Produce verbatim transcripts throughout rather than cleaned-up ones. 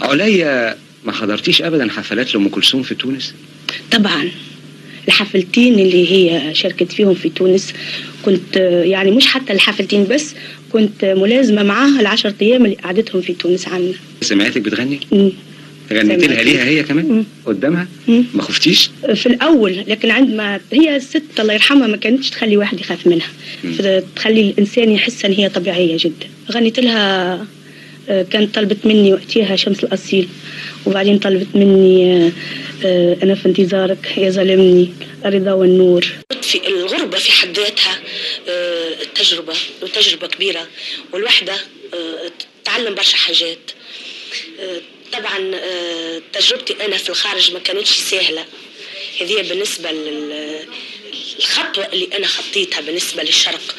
عليا ما حضرتيش ابدا حفلات لام كلثوم في تونس؟ طبعا الحفلتين اللي هي شاركت فيهم في تونس كنت، يعني مش حتى الحفلتين بس، كنت ملازمة معاها العشر أيام اللي قعدتهم في تونس عنا. سمعتك بتغني؟ مم. غنيت لها ليها هي كمان؟ مم. قدامها؟ مم. ما خفتيش؟ في الأول، لكن عندما هي الست الله يرحمها ما كانتش تخلي واحد يخاف منها، مم. تخلي الإنسان يحس أن هي طبيعية جدا. غنيت لها، كانت طلبت مني وقتها شمس الأصيل، وبعدين طلبت مني أنا في انتظارك، يا ظالمني، الرضا والنور. في الغربة في حد ذاتها تجربة، وتجربة كبيرة، والوحدة تعلم برشا حاجات. طبعا تجربتي أنا في الخارج ما كانتش سهلة، هذه بالنسبة للخطوة اللي أنا خطيتها بالنسبة للشرق.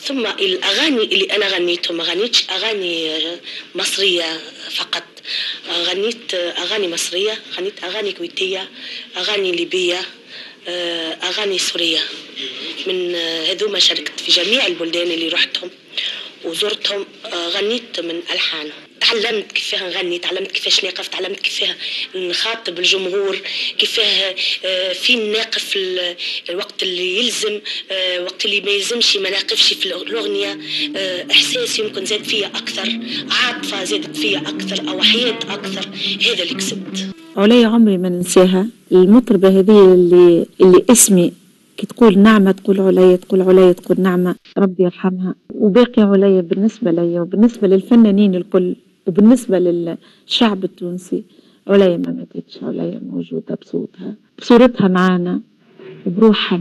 ثم الأغاني اللي أنا غنيتهم، ما غنيتش أغاني مصرية فقط، غنيت أغاني مصرية، غنيت أغاني كويتية، أغاني ليبية، أغاني سورية. من هذوما شاركت في جميع البلدان اللي رحتهم وزرتهم، غنيت من ألحانهم. تعلمت كيفاه نغني، تعلمت كيفاش نقف، تعلمت كيفاه نخاطب الجمهور، كيفاه فين ناقف الوقت اللي يلزم، وقت اللي ما يلزمش ما ناقفش في الأغنية. إحساس يمكن زاد فيا أكثر، عاطفة زادت فيا أكثر، أو حياة أكثر. هذا اللي كسبت. عليا عمري ما ننساها، المطربة هذه اللي, اللي اسمي كي تقول نعمة تقول عليا، تقول عليا تقول نعمة، ربي يرحمها. وباقي عليا بالنسبة ليا وبالنسبة للفنانين الكل وبالنسبة للشعب التونسي، عليا ما ماتتش، عليا موجودة بصوتها، بصورتها معانا وبروحها.